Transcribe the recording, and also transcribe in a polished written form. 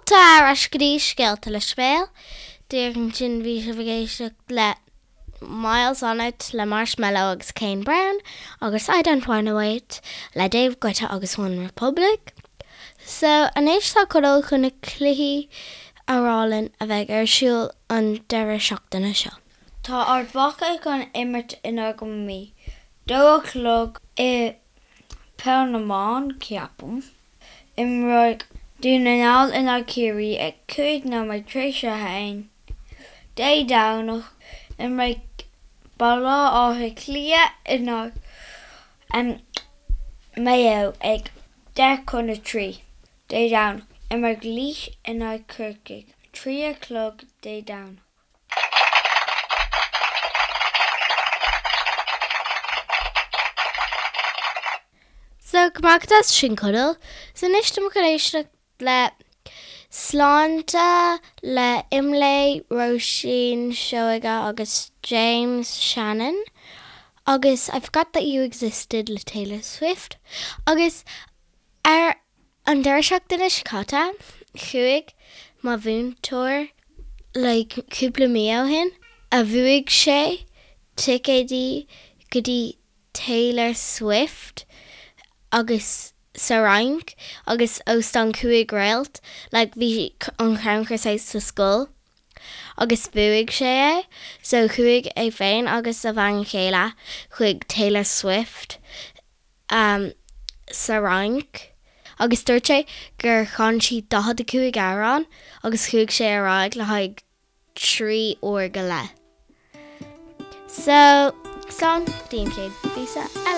Fáilte ar ais go dtí Scéalta le Sibéal. Díreach ansin bhí sibh ag éisteacht le Miles on It le Marshmello agus Kane Brown agus I Don't Wanna Wait le David Guetta agus One Republic. So anois tá Conall chun na cluichí a rá linn a bheidh ar siúl an deireadh seachtaine seo. Tá Ard Mhacha chun imirt in aghaidh an Mí. Dó a chlog i Peil na mBan, ceapaim. Imreoidh Dún na nGall in aghaidh Ciarraí ag 5 nóiméad tar éis a haon Dé Domhnach. Imreoidh Baile Átha Cliath in aghaidh Maigh Eo ag 10 chun a 3 Dé Domhnach. Imreoidh Laois in aghaidh Corcaigh 3 a chlog Dé Domhnach. So, go raibh maith agat as sin Conall. So anois tá muid chun éisteacht le Sláinte le Imlé, Róisín Seoige agus James Shannon agus I Forgot That You Existed le Taylor Swift agus ar An deireadh seachtaine seo caite, chuaigh mo mhúinteoir like cúpla mí ó shin, a bhuaigh sé ticéidí go dtí Taylor Swift agus sa Fhrainc agus óstán 5 réalt, like bhí an crannchur saghas sa scoil agus bhuaigh sé é, so chuaigh é féin agus a bhean chéile chuig Taylor Swift. sa Fhrainc agus dúirt sé gur chan sí 45 amhrán agus chuaigh sé ar aghaidh le haghaidh 3 uair go leith. So, slán go dtí an chéad phíosa eile!